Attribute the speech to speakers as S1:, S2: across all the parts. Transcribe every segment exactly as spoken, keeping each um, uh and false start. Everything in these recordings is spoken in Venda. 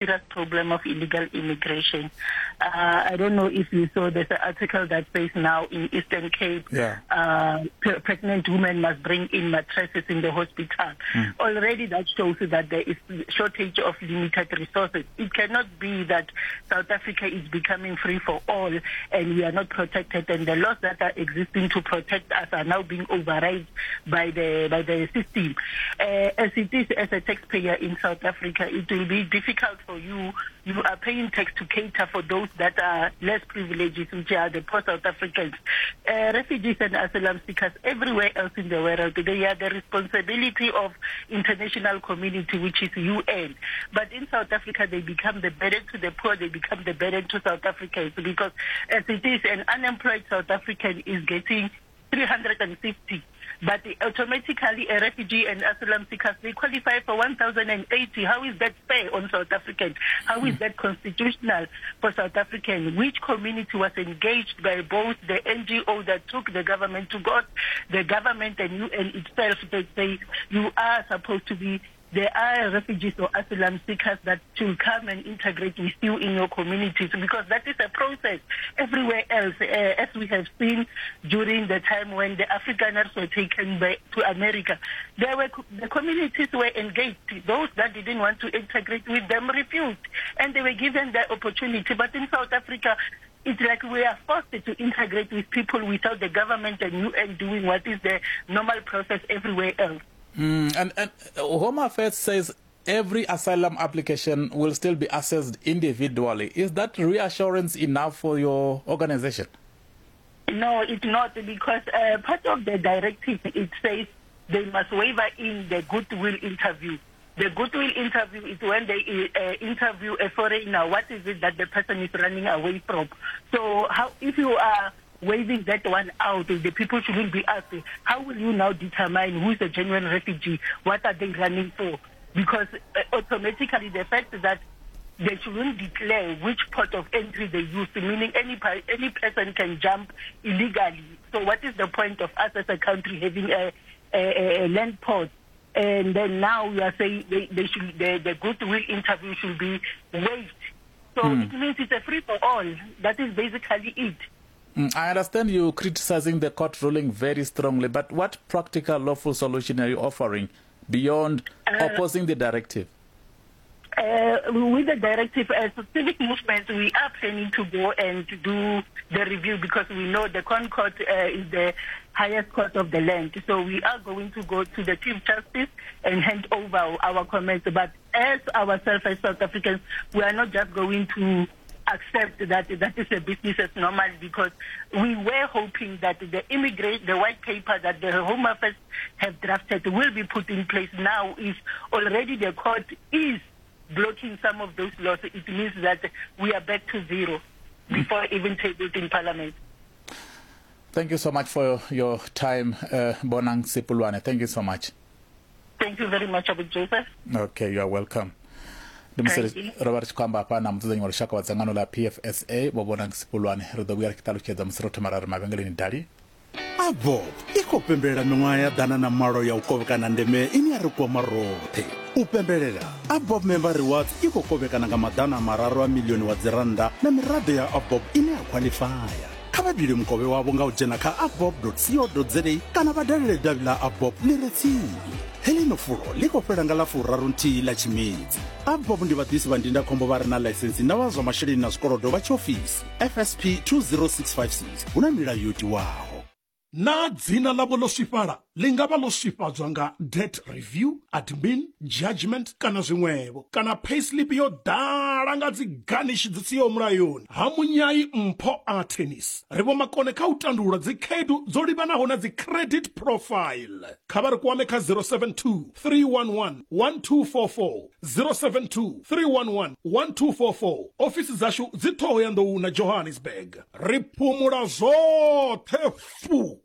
S1: Serious problem of illegal immigration. Uh, I don't know if you saw there's an article that says now in Eastern Cape,
S2: yeah.
S1: uh, pre- pregnant women must bring in mattresses in the hospital.
S2: Mm.
S1: Already that shows that there is shortage of limited resources. It cannot be that South Africa is becoming free for all and we are not protected, and the laws that are existing to protect us are now being override by the by the system. Uh, as it is, as a taxpayer in South Africa, it will be difficult for you. You are paying tax to cater for those that are less privileged, which are the poor South Africans. Uh, refugees and asylum seekers everywhere else in the world, they are the responsibility of international community, which is U N. But in South Africa, they become the burden to the poor, they become the burden to South Africans, because as it is, an unemployed South African is getting three hundred and fifty. But automatically a refugee and asylum seekers, they qualify for one thousand eighty. How is that fair on South Africans? How is that constitutional for South Africans? Which community was engaged by both the N G O that took the government to court, the government and U N itself, that say you are supposed to be, there are refugees or asylum seekers that should come and integrate with you in your communities, because that is a process everywhere else, uh, as we have seen during the time when the Afrikaners were taken by, to America. There were, the communities were engaged. Those that didn't want to integrate with them refused, and they were given the opportunity. But in South Africa, it's like we are forced to integrate with people without the government and U N doing what is the normal process everywhere else.
S2: Mm, and, and Home Affairs says every asylum application will still be assessed individually. Is that reassurance enough for your organization?
S1: No, it's not, because uh, part of the directive, it says they must waiver in the goodwill interview. The goodwill interview is when they uh, interview a foreigner. What is it that the person is running away from? So how, if you are waving that one out, the people shouldn't be asked, how will you now determine who is a genuine refugee? What are they running for? Because uh, automatically the fact that they shouldn't declare which port of entry they use, meaning any, any person can jump illegally. So what is the point of us as a country having a, a, a land port? And then now we are saying they, they should, the, the goodwill interview should be waived. So mm. it means it's a free for all. That is basically it.
S2: I understand you criticizing the court ruling very strongly, but what practical lawful solution are you offering beyond uh, opposing the directive?
S1: Uh, with the directive, as a civic movement, we are planning to go and to do the review, because we know the Concourt uh, is the highest court of the land. So we are going to go to the Chief Justice and hand over our comments. But as ourselves as South Africans, we are not just going to accept that that is a business as normal, because we were hoping that the immigrant, the white paper that the Home Affairs have drafted will be put in place now. If already the court is blocking some of those laws, it means that we are back to zero before even tabled in Parliament.
S2: Thank you so much for your time, uh, Bonang Sepulwana. Thank you so much.
S1: Thank you very much, Abu Joseph.
S2: Okay, you are welcome. Ndi musi ro vha ri tshi khou amba hafha na mudzudzanyi wa lushaka wa dzangano ḽa P F S A Vho Bonang Sepulwane. Ri ḓo vhuya ri tshi ṱalutshedza musi ro thoma ra ri mavhengeleni dali.
S3: Abo i khou pembelela miṅwaha ya ḓana na malo ya u kovhekana ndeme ine ya ri kwama roṱhe. U pembelela Abob Member Rewards i khou kovhekana nga maḓana mararu a milioni wa dzirannda na miraḓo ya Abob ine ya khwaḽifaya. Kha vha bile mukovhe wavho nga u dzhena kha abob dot co dot za kana vha dalele davhi ḽa Abob ḽi re tsini. Heḽino fulo ḽi khou fhela nga ḽa furaru nthihi ḽa Tshimedzi. Abob ndi vhaḓisi vha ndindakhombo vha re na ḽaisensi na vha zwa masheleni na zwikolodo vha tshiofisi F S P two zero six five six. Hu na milayo yo tiwaho.
S4: Na dzina ḽavho ḽo swifhala ḽi nga vha ḽo swifhadzwa nga debt review, admin, judgment kana zwiṅwevho, kana payslip yo ḓala nga dzi garnish dzi siho mulayoni. Ha Munyai Mpho a Tennis ri vho makone kha u tandulula dzi khaedu dzo livhanaho na dzi credit profile. Kha vha ri kwame kha zero seven two, three one one, one two four four, zero seven two, three one one, one two four four. Ofisi dzashu dzi Thohoyandou na Johannesburg. Ri phumula zwoṱhe fu.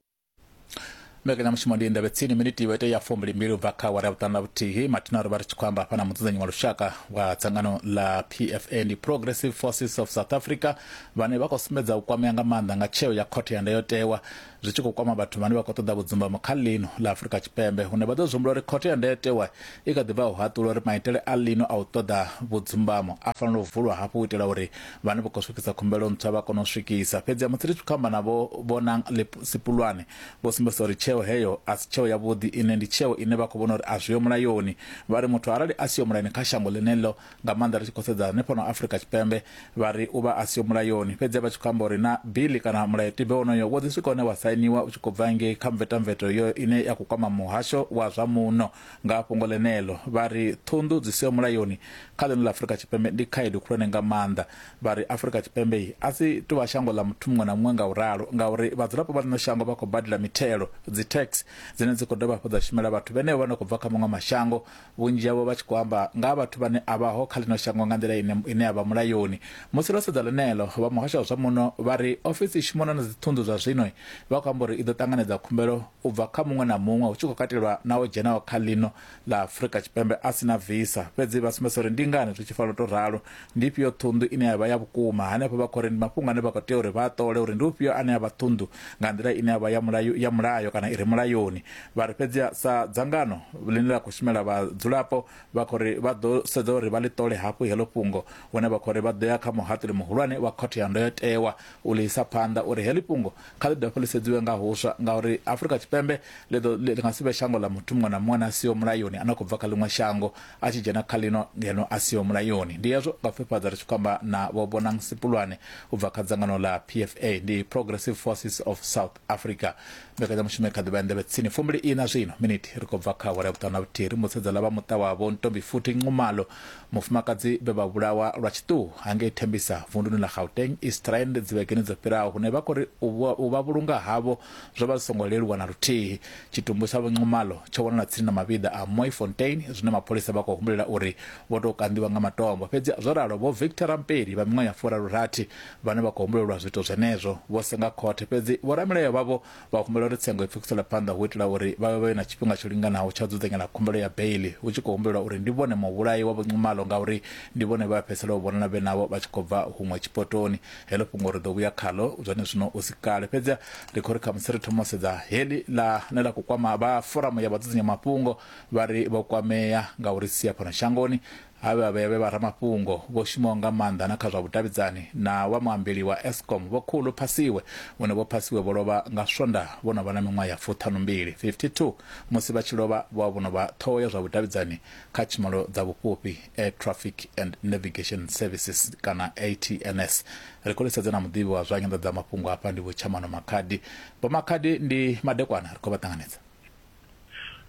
S2: Mbekanyamushumo ndi Indaba Tsini miniti yo ya fumbili mbili ubva kha awara ya vhuṱanu na vhuthihi. Mathina ri vha ri tshi khou amba hafha na mudzudzanyi wa lushaka wa dzangano ḽa P F A ndi Progressive Forces of South Africa, vhane vha khou sumbedza u kwamea nga maanḓa nga tsheo ya khothe ya ndayotewa zwi tshi khou kwama vhathu vhane vha khou ṱoḓa vhudzumbamo kha ḽino ḽa Afrika Tshipembe, hune vha ḓo zwi humbula uri khothe ya ndayotewa i kha ḓi bva u haṱula uri maitele a ḽino a u ṱoḓa vhudzumbamo a fanela u vulwa hafhu u itela uri vhane vha khou swikisa khumbelo ntswa vha kone u swikisa. Fhedzi musi ri tshi khou amba navho Bonang Sipulwane vho sumbedza uri tsheo heyo a si tsheo yavhuḓi, ine ndi tsheo ine vha khou vhona uri a zwiho mulayoni. Vha ri muthu arali a siho mulayoni kha shango ḽeneḽo, nga maanḓa ri tshi khou sedza hanefha no Afrika Tshipembe, vha ri u vha a siho mulayoni. Fhedzi vha tshi khou amba uri na bili kana mulayotibe wonoyo wo ḓi swika hune wa sainiwa u tshi khou bva ngei kha mvetamveto yo ine ya khou kwama muhasho wa zwa muno nga fhungo ḽeneḽo. Vha ri ṱhunḓu dzi siho mulayoni kha ḽino ḽa Afrika Tshipembe ndi khaedu khulwane nga maanḓa. Vha ri Afrika Tshipembe a si tou vha shango ḽa muthu muṅwe na muṅwe nga u ralo, ngauri vhadzulapo vha ḽino shango vha khou badela mithelo, dzi tax dzine dzi khou dovha hafhu dza shumela vhathu vhenevho vha no khou bva kha maṅwe mashango, vhunzhi havho vha tshi khou amba nga vhathu vhane a vhaho kha ḽino shango nga nḓila ine ine ya vha mulayoni. Musi ro sedza ḽeneḽo, vha muhasho wa zwa muno vha ri ofisi i shumana na dziṱhunḓu zwa zwino vha khou amba uri i ḓo ṱanganedza khumbelo u bva kha muṅwe na muṅwe, hu tshi khou katelwa na o dzhenaho kha ḽino ḽa Afrika Tshipembe a si na visa. Fhedzi vha sumbedza uri ndi ngani zwi tshi fanela u tou ralo, ndi ifhio ṱhunḓu ine ya vha ya vhukuma hanefho. Vha khou ri ndi mafhungo ane vha khou tea uri vha ṱole uri ndi ufhio ane a vha ṱhunḓu nga nḓila ine ya vha ya mulayo ya mulayo kana i re mulayoni. Vha ri fhedzi sa dzangano ḽine ḽa khou shumela vhadzulapo vha khou ri vha ḓo sedza uri vha ḽi ṱole hafhu heḽo fhungo, hune vha khou ri vha ḓo ya kha muhaṱuli muhulwane wa khothe ya ndayotewa u ḽi isa phanḓa uri heḽi fhungo kha ḽi dovhe ḽi sedziwe nga huswa, ngauri Afrika Tshipembe ḽi ḓo ḽi nga si vhe shango ḽa muthu muṅwe na muṅwe a siho mulayoni a no khou bva kha ḽiṅwe shango a tshi dzhena kha ḽino ngeno a siho mulayoni. Ndi hezwo nga pfufhadza ri tshi khou amba na Vho Bonang Sipulwane u bva kha dzangano ḽa P F A ndi Progressive Forces of South Africa. Mbekanyamushumo kha ḓivha nḓevhe tsini fumbili ina zwino miniti ri khou bva kha awara ya vhuṱanu na vhuthihi. Ri mutsedza ḽa vha muṱa wavho Ntombi futhi Nxumalo, mufumakadzi vhe vha vhulawa lwa tshiṱuhu hangei Thembisa vunduni ḽa Gauteng East Rand dzivhegeni dzo fhiraho, hune vha khou ri u vha vhulunga havho zwo vha zwi songo leluwa na luthihi. Tshitumbu tsha Vho Nxumalo tsho wanala tsini na mavhiḓa a Mooifontein, zwine mapholisa vha khou humbulela uri vho tou kanḓiwa nga matombo. Fhedzi zwo ralo, Vho Victor Rampedi vha miṅwaha ya furaru-rathi vhane vha khou humbulelwa zwiito zwenezwo vho senga khothe, fhedzi vhoramilayo vhavho vha humbela uri tsengo i pfukisele phanḓa hu itela uri vha vhe na tshifhinga tsho linganaho tsha dzudzanyela khumbelo ya beili, hu tshi khou humbulelwa uri ndi vhone muvhulayi wa Vho Nxumalo ngauri ndi vhone vha fhedzisela u vhonala vhe navho vha tshi khou bva huṅwe tshipotoni. Heḽo fhungo ri ḓo vhuya khalo zwone zwino u si kale. Fhedzi ri khou ri khamusi ri thoma u sedza heḽi ḽa ne ḽa khou kwama vha foramu ya vhadzudzanya mafhungo, vha ri vho kwamea nga uri sia fhano shangoni ha vhe vha vhe vha ramafhungo vho shumaho nga maanḓa na kha zwa vhudavhidzani na wa muambeli wa Eskom Vho Khulu Phasiwe, vhone Vho Phasiwe vho lovha nga Swonda vho no vha na miṅwaha ya fuṱhanumbili fifty-two. Musi vha tshi lovha vho vho no vha ṱhoho ya zwa vhudavhidzani kha tshumelo dza vhufhufhi Air Traffic and Navigation Services kana A T N S. Ri khou lisedza na muḓivhi wa zwa nyanḓadzamafhungo hafha ndi Vho Tshamano Makhadi. Vho Makhadi, ndi madekwana, ri khou vha ṱanganedza.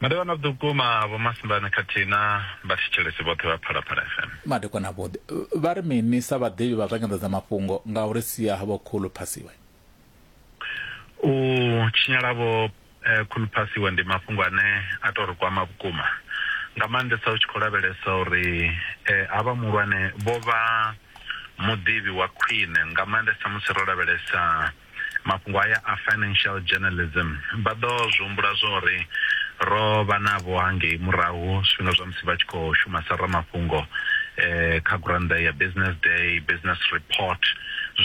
S5: Madekwana vhukuma Vho Masimbane khathihi na vhathetshelesi vhoṱhe vha Phalaphala F M.
S2: Madekwana vhoḓi. Vha ri mini sa vhaḓivhi vha zwa nyanḓadzamafhungo nga uri sia Vho Khulu Phasiwe?
S5: U tshinyala Vho Khulu Phasiwe ndi mafhungo ane a tou ri kwama vhukuma, nga maanḓesa u tshi khou lavhelesa uri havha muhulwane vho vha muḓivhi wa khwine, nga maanḓesa musi ro lavhelesa mafhungo aya a financial journalism. Vha ḓo zwi humbula zwa uri ro vha navho hangei murahu zwifhinga zwa musi vha tshi khou shuma sa ramafhungo eh, kha gurannḓa ya Business Day, Business Report.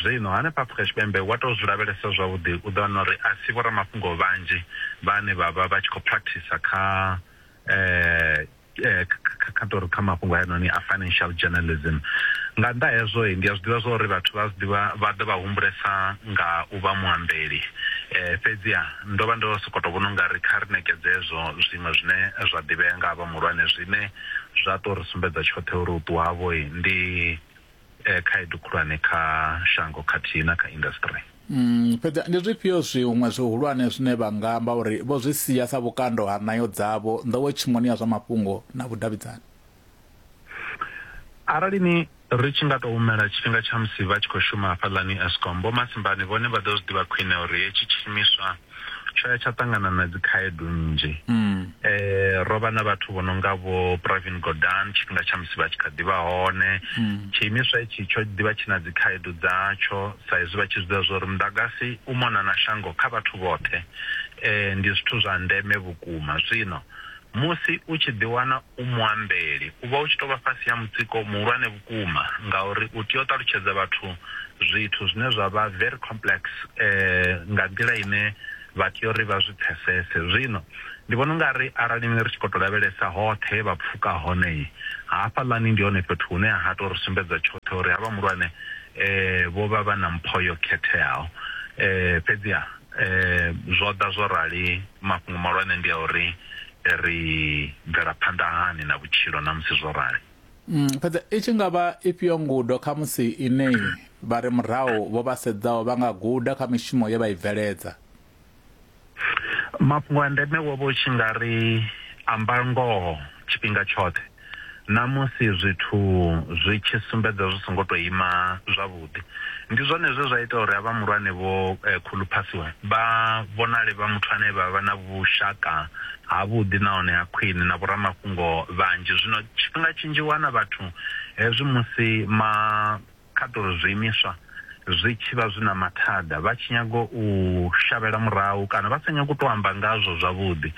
S5: Zwino hanefha Afrika Tshipembe wa tou zwi lavhelesa zwavhuḓi u ḓo wana uri a si vhoramafhungo vhanzhi vhane vha vha vha tshi khou practice kha eh, kha tori kha mafhungo hayanoni a financial journalism. Nga nnḓa hezwo ndi a zwi ḓivha zwa uri vhathu vha zwi ḓivha vha ḓo vha humbulesa nga u vha muambeli, eh, fhedziha ndo vha ndo sokou tou vhona ungari kha ri ṋekedze hezwo zwiṅwe zwine zwa ḓivhea nga havha muhulwane, zwine zwa tou ri sumbedza tshoṱhe uri u ṱuwa havho ndi eh, khaedu khulwane kha shango khathihi na kha industry.
S2: Mm, fhedzi ndi zwifhio zwiṅwe zwihulwane zwine vha nga amba uri vho zwi sia sa vhukando ha ṋayo dzavho nḓowetshumoni ya zwa mafhungo na vhudavhidzani?
S5: Arali ni ri tshi nga tou humela tshifhinga tsha musi vha tshi khou shuma hafhaḽani Eskom, Vho Masimbane vhone vha ḓo zwi ḓivha khwine uri hetshi tshiimiswa tsho ya tsha ṱangana na dzi khaedu nnzhi.
S2: Mm.
S5: Eh, ro vha na vhathu vho no nga vho Pravin Gordhan tshifhinga tsha musi vha tshi kha ḓivha hone.
S2: Mm.
S5: Tshiimiswa itshi tsho ḓivha tshi na dzi khaedu dzatsho sa izwi vha tshi zwi ḓivha zwa uri muḓagasi u mona na shango kha vhathu vhoṱhe eh, ndi zwithu zwa ndeme vhukuma. Zwino musi u tshi ḓiwana u muambeli u vha u tshi tou vha fhasi ha mutsiko muhulwane vhukuma, ngauri u tea u ṱalutshedza vhathu zwithu zwine zwa vha very complex eh, nga nḓila ine vha tea uri vha zwi pfesese. Zwino ndi vhona ungari arali ri tshi khou tou lavhelesa hoṱhe vha pfuka hone hafhaḽani ndi hone fhethu hune ha tou ri sumbedza tshoṱhe uri havha muhulwane eh, vho vha vha na mpho yo khetheaho. Eh, fhedziha eh, zwo ḓa zwo rali, mafhungo mahulwane ndi a uri ri bvela phanḓa hani na vhutshilo na musi zwo rali.
S2: Mm, fhedzi i tshi nga vha ifhio ngudo kha musi ine vha re murahu vho vha sedzaho vha nga guda kha mishumo ye vha i bveledza?
S5: Mafhungo a ndeme wo vha u tshi nga ri amba ngoho tshifhinga tshoṱhe, na musi zwithu zwi tshi sumbedza zwi songo tou ima zwavhuḓi. Ndi zwone zwe zwa ita uri havha muhulwane vho eh, Khuluphasiwe vha vhonale vha muthu ane vha vha na vhushaka havhuḓi nahone ha khwine na vhoramafhungo vhanzhi. Zwino tshifhinga tshinzhi wana vhathu hezwi musi ma kha tou zwiimiswa zwi tshi vha zwi na mathada vha tshi nyago u shavhela murahu kana vha sa nyago u tou amba ngazwo zwavhuḓi.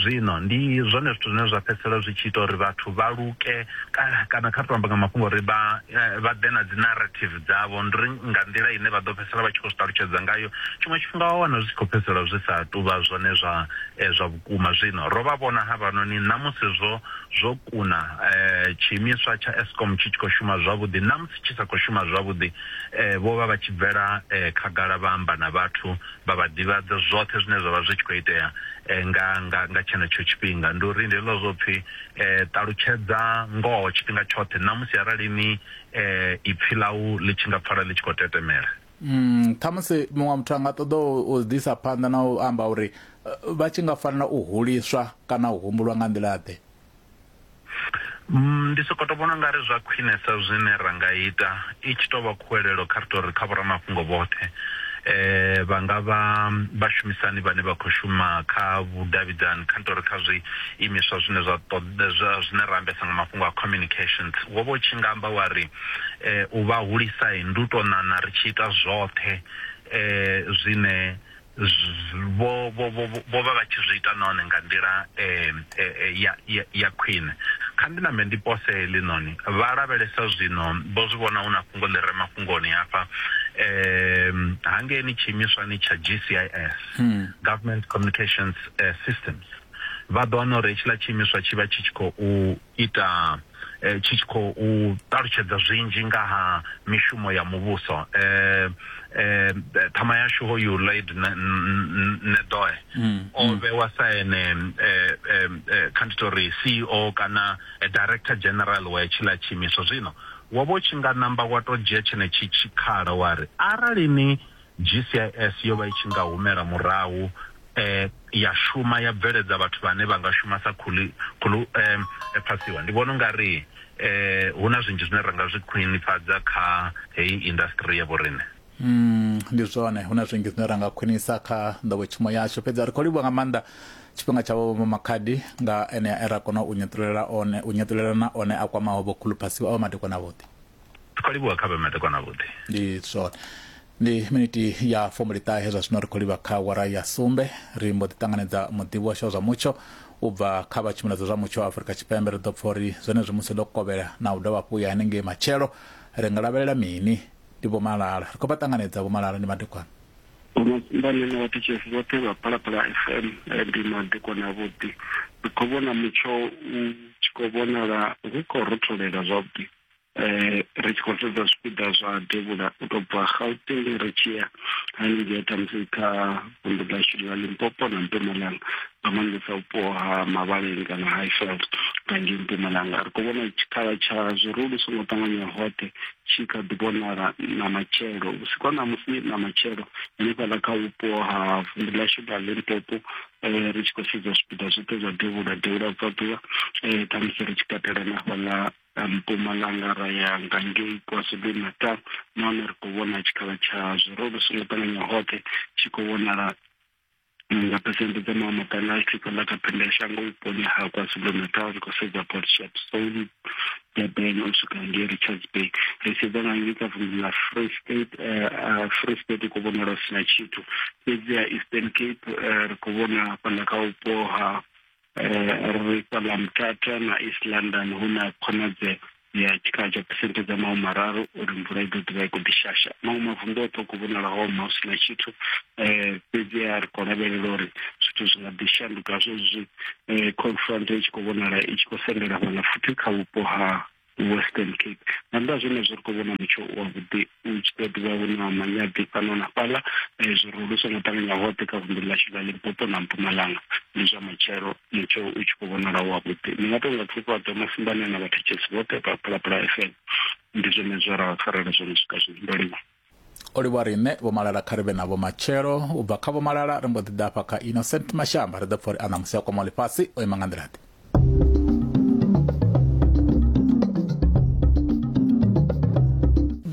S5: Zwino ndi zwone zwithu zwine zwa fhedzisela zwi tshi ita uri vhathu vha luke kana kha ri tou amba nga mafhungo uri vha vha ḓe na dzi narrative dzavho, ndi uri nga nḓila ine vha ḓo fhedzisela vha tshi khou zwi ṱalutshedza ngayo. Tshiṅwe tshifhinga wa wana zwi tshi khou fhedzisela zwi sa tuvha zwone zwa zwa vhukuma. Zwino ro vha vhona havhanoni namusi zwo zwo kuna tshiimiswa tsha Eskom tshi tshi khou shuma zwavhuḓi, namusi tshi sa khou shuma zwavhuḓi vho vha vha tshi bvela khagala vha amba na vhathu vha vha ḓivhadza zwoṱhe zwine zwa vha zwi tshi khou itea nga nga nga tshenetsho tshifhinga. Ndi uri ndi hezwiḽa zwo pfhi ṱalutshedza ngoho tshifhinga tshoṱhe namusi arali ni ipfhi ḽau ḽi tshi nga pfala ḽi tshi khou tetemela.
S2: Mm, ṱhamusi muṅwe muthu a nga ṱoḓa u ḓisa phanḓa na u amba uri vha tshi nga fanela u huliswa kana u humbulwa nga nḓila ḓe?
S5: Ndi soko to vhona ungari zwa khwinesa zwine ra nga ita i tshi tou vha khuwelelo kha ri tou ri kha vhoramafhungo vhoṱhe eh vha nga vha vhashumisani vhane vha khou shuma kha vhudavhidzani, kha ri tou ri kha zwiimiswa zwine zwa ṱoḓa zwine ra ambesa nga mafhungo a communications, wo vha u tshi nga amba wa ri u vha hulisa ndi u tou ṋaṋa ri tshi ita zwoṱhe eh zwine vho vho vho vha vha tshi zwi ita nahone nga nḓila ya ya khwine. Kha ndi nambe ndi pose heḽinoni, vha lavhelesa zwino vho zwi vhona hu na fhungo ḽi re mafhungoni hafha um hangeini tshiimiswani tsha G C I S, hmm. Government Communications uh, Systems, vha ḓo wana uri hetshiḽa tshiimiswa tshi vha tshi tshi khou ita tshi tshi khou ṱalutshedza zwinzhi nga ha mishumo ya muvhuso. Eh eh ṱhama yashu hoyu Lloyd Nedoe o vhewa sa ene kha ndi tou ri C E O kana Director General wa hetshiḽa tshiimiswa. Zwino wo vha u tshi nga namba wa tou dzhia tshenetshi tshikhala wa ri arali ni G C I S yo vha i tshi nga humela murahu eh ya shuma ya bveledza vhathu vhane vha nga shuma sa khuli khulu eh phasiwa, ndi vhona ungari eh hu na zwinzhi zwine ra nga zwi khwinifhadza kha heyi industry ya vhorine.
S2: Mm, ndi zwone, hu na zwinzhi zwine ra nga khwinisa kha nḓowetshumo yashu. Fhedzi ri khou livhuwa nga maanḓa tshifhinga tshavho Vho Makhadi nga ene e ra kona u nyeṱulela one u nyeṱulelana one a kwamaho Vho Khuluphasiwa avho madekwana avhuḓi.
S5: Ri khou livhuwa kha vhe madekwana avhuḓi.
S2: Ndi zwone. Ndi miniti ya fumbiliṱahe zwa zwino ri khou livha kha wara ya sumbe, ri mbo ḓi ṱanganedza muḓivhi washu wa zwa mutsho u bva kha vha tshumelo dza zwa mutsho wa Afrika Tshipembe. Ri ḓo pfha uri zwenezwi musi ḽo kovhela na u dovha hafhu ya hanengei matshelo ri nga lavhelela mini. Ndi Vho Malala, ri khou vha ṱanganedza Vho Malala, ndi madekwana.
S6: Vhane na vhathetshelesi vhoṱhe vha Phalaphala F M, ndi madekwana avhuḓi. Ri khou vhona mutsho u tshi khou vhonala hu khou rotholela zwavhuḓi. Eh ri tshi khou sedza zwipiḓa zwa devhula u tou bva Gauteng ri tshi ya haningei ṱhamusi kha vunḓu ḽashu ḽa Limpopo na Mpumalanga, nga maanḓesa vhupo ha Mabaleng kana Highveld nga ngei Mpumalanga. Ri khou vhona tshikhala tsha zwirulu songo ṱanganya hoṱhe tshi kha ḓi vhonala na matshelo vhusiku ha ṋamusi na matshelo hanefhaḽa kha vhupo ha vunḓu ḽashu ḽa Limpopo. Ri tshi khou sedza zwipiḓa zwoṱhe zwa devhula devhula bvaḓuvha ṱhamusi ri tshi katela na hafhaḽa Mpumalanga ra ya nga ngei KwaZulu-Natal, nahone ri khou vhona tshikhala tsha zwirulu songo ṱanganya hoṱhe tshi khou vhonala Nga phesenthe dza mahumimaṱanu a tshi khou ḽa kha phendelashango vhuponi ha KwaZulu-Natal, ri khou sedza Port Shepstone, Durban u swika ngei Richards Bay. Ri sedza nga ngei kha vunḓu ḽa Free State, Free State i khou vhonala hu sina tshithu, fhedziha Eastern Cape ri khou vhona fhaḽa kha vhupo ha ri fhaḽa Mthatha na East London hu na khonadzeo ya tshikhala tsha phesenthe dza mahumi mararu uri mvula i ḓo ḓivha i khou ḓi shasha. Maṅwe mavunḓu oṱhe u khou vhonala ho oma hu sina tshithu, fhedziha ri khou lavhelela uri zwithu zwi nga ḓi shanduka zwezwi cold front i tshi khou vhonala i tshi khou sendela fhaḽa futhi kha vhupo ha Western Cape. Nga nnḓa ha zwenezwo ri khou vhona mutsho wavhuḓi u tshi ḓo ḓivha hu na manyaḓi fhano na fhaḽa, zwirulu zwi songo ṱanganya hoṱhe kha vunḓu ḽashu ḽa Limpopo na Mpumalanga. Ndi zwa matshelo mutsho u tshi khou vhonala wavhuḓi. Ndi nga tou nga pfufhadzo masimbane na vhathetshelesi vhoṱhe vha Phalaphala F M. Ndi zwone zwe ra vha farela zwone swika zwino. Ndo livhuwa.
S2: O livhuwa riṋe Vho Malala kha ri vhe navho matshelo. U bva kha Vho Malala ri mbo ḓi ḓa hafha kha Innocent Mashamba, ri ḓo pfha uri a ṋamusi a kwama ḽifhasi o ima nga nḓila ḓe.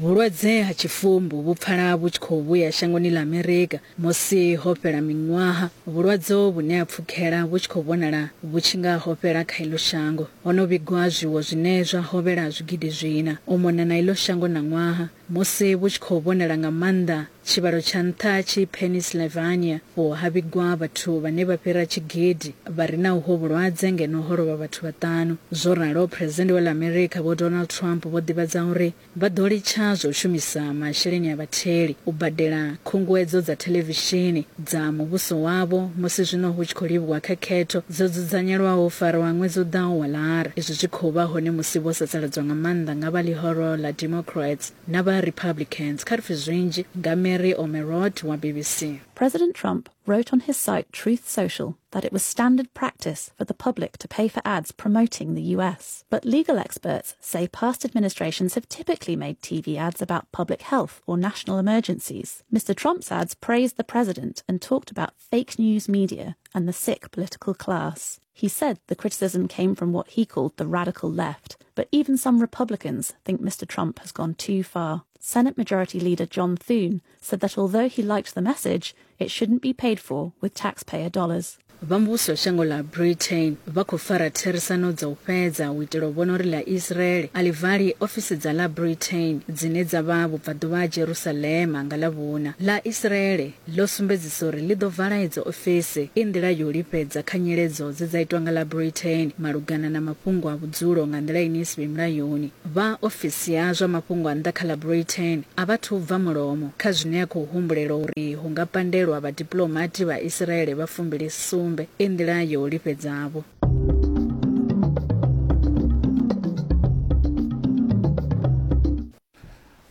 S7: Vhulwadze ha tshifumbu vhu pfala vhu tshi khou vhuya shangoni ḽa Amerika musi ho fhela miṅwaha. Vhulwadze vhune ha pfukhela vhu tshi khou vhonala vhu tshi nga ho fhela kha iḽo shango. Ho no vhigwa zwiwo zwine zwa hovhela zwigidi zwina u mona na iḽo shango na ṅwaha, musi vhu tshi khou vhonala nga maanḓa tshivhalo tsha nṱha tshi Pennsylvania ho ha vhigwa vhathu vhane vha fhira tshigidi vha re na uho vhulwadze ngeno ho lovha vhathu vhaṱanu. Zwo ralo, President wa ḽa Amerika Vho Donald Trump vho ḓivhadza uri vha ḓo litsha zwa u shumisa masheleni a vhatheli u badela khunguwedzo dza thelevishini dza muvhuso wavho musi zwino hu tshi khou livhuwa kha khetho dzo dzudzanyelwaho u farwa ṅwedzi u ḓaho wa Lara. Izwi zwi khou vha hone musi vho sasaladzwa nga maanḓa nga vha ḽihoro ḽa Democrats na vha Republicans. Kha ri pfe zwinzhi nga Mary Omerod wa B B C.
S8: President Trump wrote on his site Truth Social that it was standard practice for the public to pay for ads promoting the U S. But legal experts say past administrations have typically made T V ads about public health or national emergencies. Mister Trump's ads praised the president and talked about fake news media and the sick political class. He said the criticism came from what he called the radical left, but even some Republicans think Mister Trump has gone too far. Senate Majority Leader John Thune said that although he liked the message, it shouldn't be paid for with taxpayer dollars.
S7: Vha muvhuso shango ḽa Britain vha khou fara therisano dza u fhedza u itela u vhona uri ḽa Israel a ḽi vali ofisi dza ḽa Britain dzine dza vha vhubvaḓuvha ha Jerusalema nga ḽavhuna. Ḽa Israel ḽo sumbedzisa uri ḽi ḓo vala idzo ofisi i nḓila yo lifhedza kha nyiledzo dze dza itwa nga ḽa Britain malugana na mafhungo a vhudzulo nga nḓila ine i si vhe mulayoni. Vha ofisi ya zwa mafhungo a nnḓa kha ḽa Britain a vha thu bva mulomo kha zwine ya khou humbulela uri hu nga pandelwa vhadiplomati vha Israel vha fumbili sumbe i nḓila yo lifhedzavho.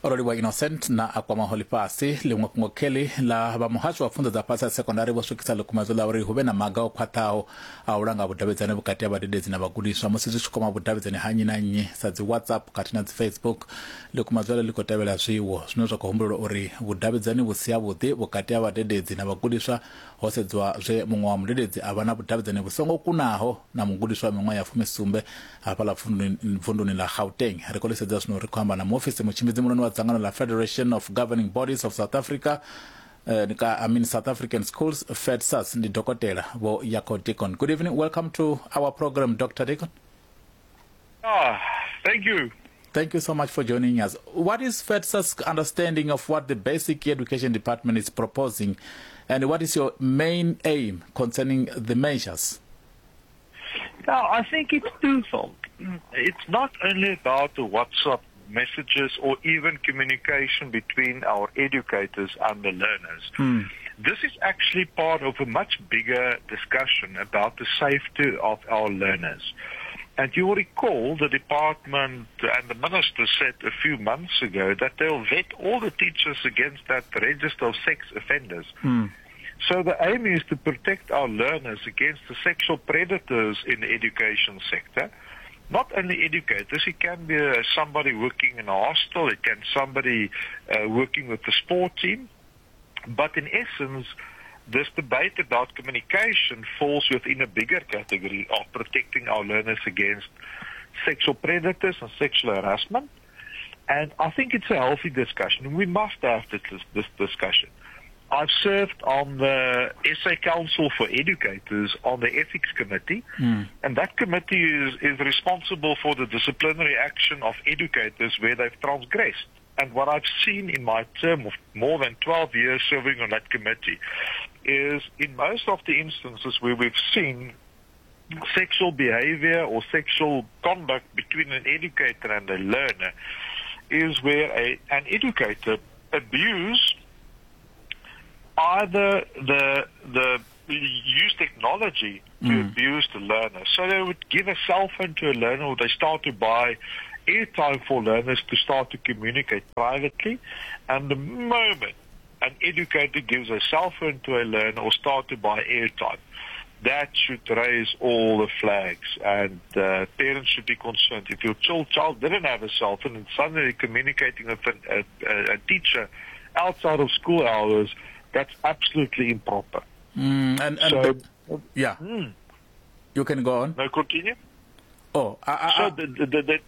S2: Oroliwa Innocent na akwamaho ḽifhasi. Ḽiṅwe fhungo kheli ḽa vha muhasho wa pfunzo dza fhasi ha sekondari vho swikisa ḽikumedzo ḽa uri hu vhe na maga o khwaṱhaho a u langa vhudavhidzani vhukati ha vhadededzi na vhagudiswa musi zwi tshi kwama vhudavhidzani ha nnyi na nnyi sa dzi WhatsApp khathihi na dzi Facebook. Ḽikumedzo ḽi khou tevhela zwiwo zwine zwa khou humbulelwa uri vhudavhidzani vhu si havhuḓi vhukati ha vhadededzi na vhagudiswa ho sedzwa zwe muṅwe wa mudededzi a vha na vhudavhidzani vhu songo kunaho na mugudiswa wa miṅwaha ya fumisumbe hafhaḽa vunduni ḽa Gauteng. Ri khou ḽi sedza zwino ri khou amba na muofisi mutshimbidzi muhulwane wa dzangano la Federation of Governing Bodies of South Africa, uh, I mean South African Schools, FEDSAS, ndi Dokotela Vho Jaco Deacon. Good evening. Welcome to our program, Doctor Deacon.
S9: Ah, thank you.
S2: Thank you so much for joining us. What is FEDSAS' understanding of what the Basic Education Department is proposing, and what is your main aim concerning the measures?
S9: Now, I think it's twofold. It's not only about the WhatsApp messages or even communication between our educators and the learners. Mm. This is actually part of a much bigger discussion about the safety of our learners. And you will recall the department and the minister said a few months ago that they'll vet all the teachers against that register of sex offenders. Mm. So the aim is to protect our learners against the sexual predators in the education sector. Not only educators, it can be uh, somebody working in a hostel, it can somebody uh, working with the sport team. But in essence, this debate about communication falls within a bigger category of protecting our learners against sexual predators and sexual harassment. And I think it's a healthy discussion. We must have this, this discussion. I've served on the S A Council for Educators on the Ethics Committee,
S2: mm.
S9: and that committee is, is responsible for the disciplinary action of educators where they've transgressed. And what I've seen in my term of more than twelve years serving on that committee is in most of the instances where we've seen sexual behavior or sexual conduct between an educator and a learner is where a, an educator abused either the the use technology to
S2: mm.
S9: abuse the learner. So they would give a cell phone to a learner, or they start to buy airtime for learners to start to communicate privately. And the moment an educator gives a cell phone to a learner or start to buy airtime, that should raise all the flags, and uh, parents should be concerned. If your child, child didn't have a cell phone and suddenly communicating with a, a, a teacher outside of school hours, that's absolutely improper.
S2: Mm, and, and
S9: so,
S2: the, yeah,
S9: mm.
S2: you can go on.
S9: No, continue.
S2: Oh, I, I,
S9: so the, the, the,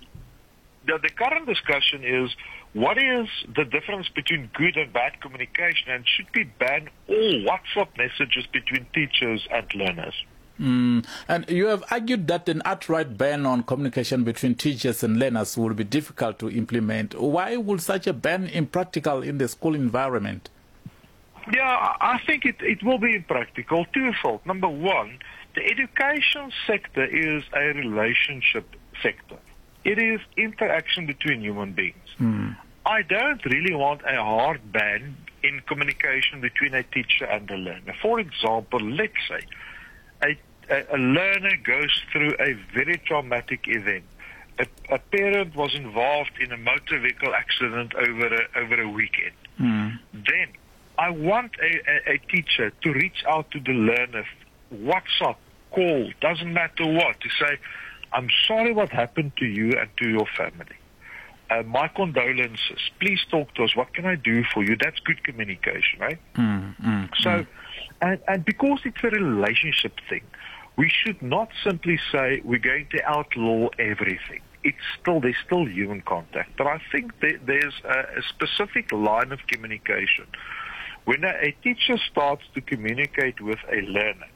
S9: the, the current discussion is, what is the difference between good and bad communication, and should we ban all WhatsApp messages between teachers and learners?
S2: Mm. And you have argued that an outright ban on communication between teachers and learners will be difficult to implement. Why would such a ban impractical in the school environment?
S9: Yeah, I think it, it will be impractical. Twofold. Number one, the education sector is a relationship sector. It is interaction between human beings.
S2: Mm.
S9: I don't really want a hard ban in communication between a teacher and a learner. For example, let's say a, a, a learner goes through a very traumatic event. A, a parent was involved in a motor vehicle accident over a, over a weekend.
S2: Mm.
S9: Then I want a, a, a teacher to reach out to the learner, WhatsApp, call, doesn't matter what, to say, I'm sorry what happened to you and to your family. Uh, my condolences. Please talk to us. What can I do for you? That's good communication, right?
S2: Mm, mm,
S9: so,
S2: mm.
S9: And, and because it's a relationship thing, we should not simply say we're going to outlaw everything. It's still, there's still human contact. But I think there, there's a, a specific line of communication. When a, a teacher starts to communicate with a learner,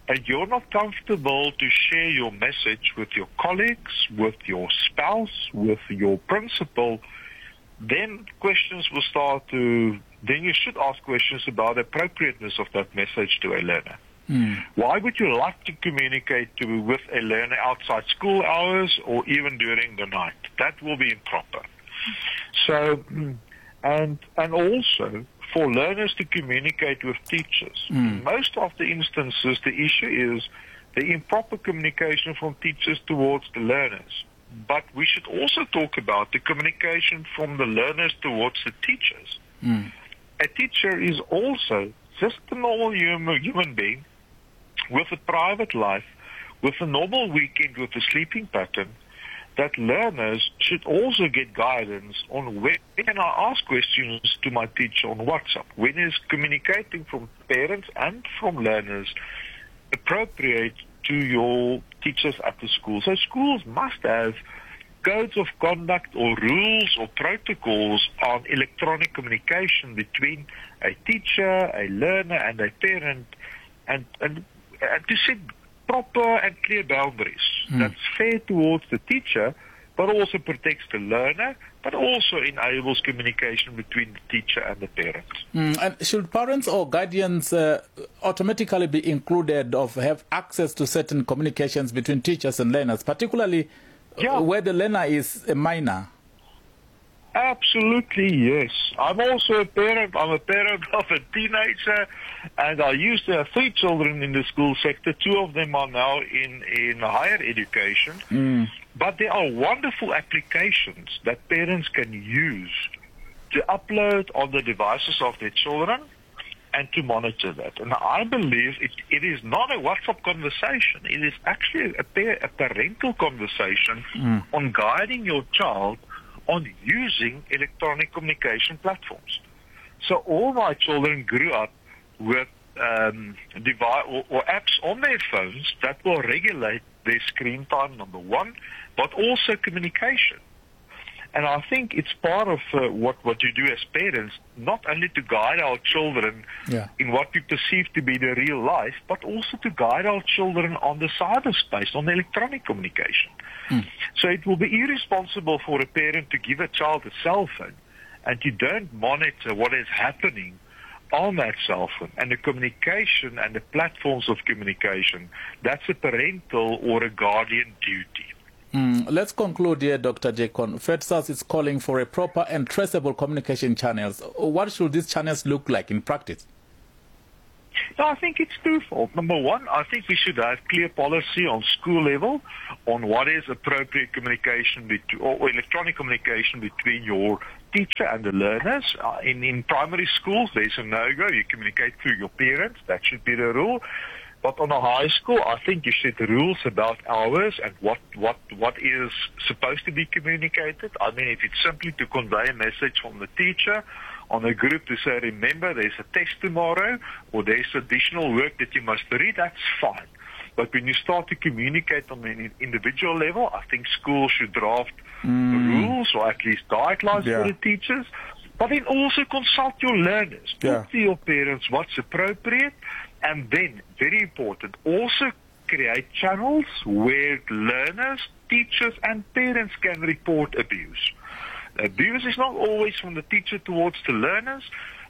S9: and you're not comfortable to share your message with your colleagues, with your spouse, with your principal, then questions will start to, then you should ask questions about the appropriateness of that message to a learner.
S2: Mm.
S9: Why would you like to communicate to, with a learner outside school hours or even during the night? That will be improper. So, and, and also, for learners to communicate with teachers.
S2: Mm.
S9: In most of the instances, the issue is the improper communication from teachers towards the learners. But we should also talk about the communication from the learners towards the teachers.
S2: Mm.
S9: A teacher is also just a normal human, human being with a private life, with a normal weekend, with a sleeping pattern, that learners should also get guidance on when can I ask questions to my teacher on WhatsApp? When is communicating from parents and from learners appropriate to your teachers at the school? So schools must have codes of conduct or rules or protocols on electronic communication between a teacher, a learner, and a parent, and, and, and to set proper and clear boundaries
S2: mm.
S9: that's fair towards the teacher, but also protects the learner, but also enables communication between the teacher and the parent.
S2: Mm. And should parents or guardians uh, automatically be included or have access to certain communications between teachers and learners, particularly
S9: yeah.
S2: where the learner is a minor?
S9: Absolutely, yes. I'm also a parent. I'm a parent of a teenager, and I used to have three children in the school sector. Two of them are now in, in higher education.
S2: Mm.
S9: But there are wonderful applications that parents can use to upload on the devices of their children and to monitor that. And I believe it, it is not a WhatsApp conversation. It is actually a, par- a parental conversation
S2: mm.
S9: on guiding your child on using electronic communication platforms. So all my children grew up with um, device or, or apps on their phones that will regulate their screen time, number one, but also communication. And I think it's part of uh, what, what you do as parents, not only to guide our children
S2: yeah.
S9: in what we perceive to be the real life, but also to guide our children on the cyberspace, on the electronic communication.
S2: Mm.
S9: So it will be irresponsible for a parent to give a child a cell phone and you don't monitor what is happening on that cell phone and the communication and the platforms of communication. That's a parental or a guardian duty.
S2: Mm, let's conclude here, Doctor Jacon. FEDSAS is calling for a proper and traceable communication channels. What should these channels look like in practice?
S9: No, I think it's twofold. Number one, I think we should have clear policy on school level on what is appropriate communication between, or electronic communication between your teacher and the learners. Uh, in, in primary schools, there's a no-go. You communicate through your parents. That should be the rule. But on a high school, I think you set rules about hours and what, what, what is supposed to be communicated. I mean, if it's simply to convey a message from the teacher on a group to say, remember, there's a test tomorrow or there's additional work that you must read, that's fine. But when you start to communicate on an individual level, I think schools should draft
S2: mm.
S9: rules or at least guidelines
S2: yeah.
S9: for the teachers. But then also consult your learners.
S2: Yeah.
S9: Talk to your parents what's appropriate. And then, very important, also create channels where learners, teachers, and parents can report abuse. Abuse is not always from the teacher towards the learners.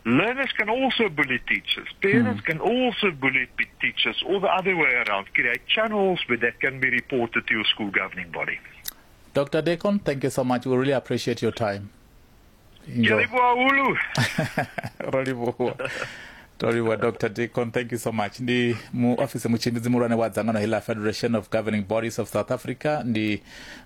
S9: Learners can also bully teachers. Parents mm. can also bully teachers, or the other way around. Create channels where that can be reported to your school governing body.
S2: Doctor Decon, thank you so much. We really appreciate your time. Enjoy. Toriwa Doctor Decon, thank you so much. Ndi mu office mutshimbidzi muhulwane wa dzangano heḽa Federation of Governing Bodies of South Africa, ndi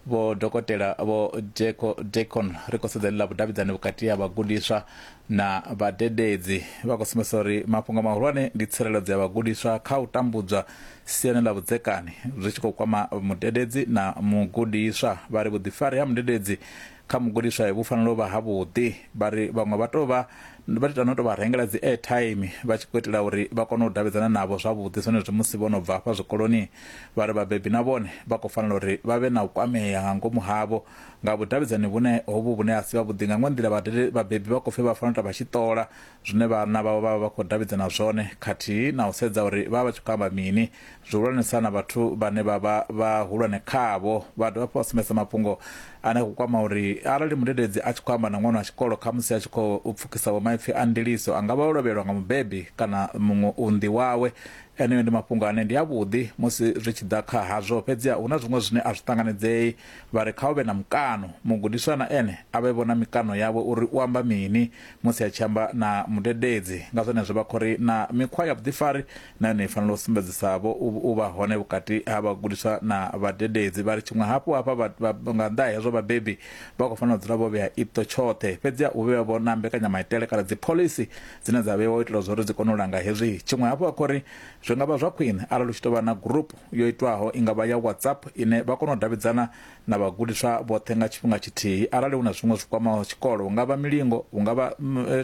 S2: vho dokotela vho Jeko Decon. Ri khou sedza ḽa vhudavhidzani vhukati ha vhagudiswa na vhadededzi. Vha khou sumbedzisa uri mafhungo mahulwane ndi tsireledzo ya vhagudiswa kha u tambudzwa siani ḽa vhudzekani zwi tshi khou kwama mudededzi na mugudiswa. Vha ri vhuḓifari ha mudededzi kha mugudiswa vhu fanela u vha havhuḓi. Vha ri vhaṅwe vha tou vha vha ita no tou vha rengela dzi airtime vha tshi khou itela uri vha kone u davhidzana navho zwavhuḓi zwenezwi musi vho no bva hafha zwikoloni. Vha ri vhabebi na vhone vha khou fanela uri vha vhe na u kwamea nga ngomu havho nga vhudavhidzani vhune hovhu vhune a si vhavhuḓi. Nga ṅwe nḓila vhabebi vha khou pfhi vha fanela u ita vha tshi ṱola zwine vhana vhavho vha vha vha khou davhidzana zwone, khathihi na u sedza uri vha vha tshi khou amba mini, zwihulwanesa na vhathu vhane vha vha vhahulwane khavho. Vha dovha hafhu vha sumbedzisa mafhungo ane khou kwama uri arali mudededzi a tshi khou amba na ṅwana wa tshikolo khamusi a tshi khou pfukisa vho maipfi a ndiliso, a nga vha o lovhelwa nga mubebi kana muṅwe unḓi wawe. Eneyo ndi mafhungo ane ndi avhuḓi musi zwi tshi ḓa kha hazwo, fhedziha hu na zwiṅwe zwine a zwi ṱanganedzei. Vha ri kha hu vhe na mukano, mugudiswa na ene a vhe vhona mikano yawe uri u amba mini musi a tshi amba na mudededzi. Nga zwenezwo vha khou ri na mikhwa ya vhuḓifari na yone i fanela u sumbedzisavho u vha hone vhukati ha vhagudiswa na vhadededzi. Vha ri tshiṅwe hafhu hafha nga nnḓa ha hezwo vhabebi vha khou fanela u dzula vho vhea iṱo tshoṱhe, fhedziha u vhea vho na mbekanyamaitele kana dzi phoḽisi dzine dza vheiwa u itela zwa uri dzi kone u langa hezwi. Tshiṅwe hafhu vha khou ri zwi nga vha zwa khwine arali hu tshi tou vha na group yo itwaho, i nga vha ya WhatsApp, ine vha kona u davhidzana na vhagudiswa vhoṱhe nga tshifhinga tshithihi. Arali hu na zwiṅwe zwi kwamaho tshikolo, hu nga vha milingo, hu nga vha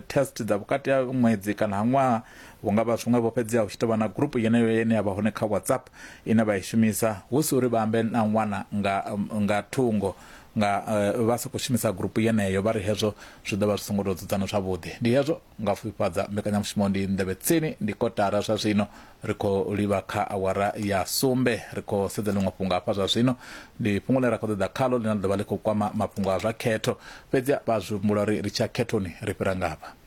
S2: test dza vhukati ha ṅwedzi kana ha ṅwaha, hu nga vha zwiṅwe vho, fhedziha hu tshi tou vha na group yeneyo ine ya vha hone kha WhatsApp ine vha i shumisa, hu si uri vha ambe na ṅwana nga nga thungo nga uh, vha sokou shumisa grupu yeneyo. Vha ri hezwo zwi ḓo vha zwi songo tou dzudzana zwavhuḓi. Ndi hezwo nga pfufhifhadza mbekanyamushumo. Ndi nḓevhe tsini, ndi kotara zwa zwino, ri khou livha kha awara ya sumbe. Ri khou sedza ḽiṅwe fhungo hafha zwa zwino, ndi fhungo ḽine ra khou ṱoḓa khalo ḽine ḽa ḓo vha ḽi khou kwama mafhungo a zwa khetho, fhedziha vha zwi humbula uri ri tshiya khethoni ri fhira ngafha.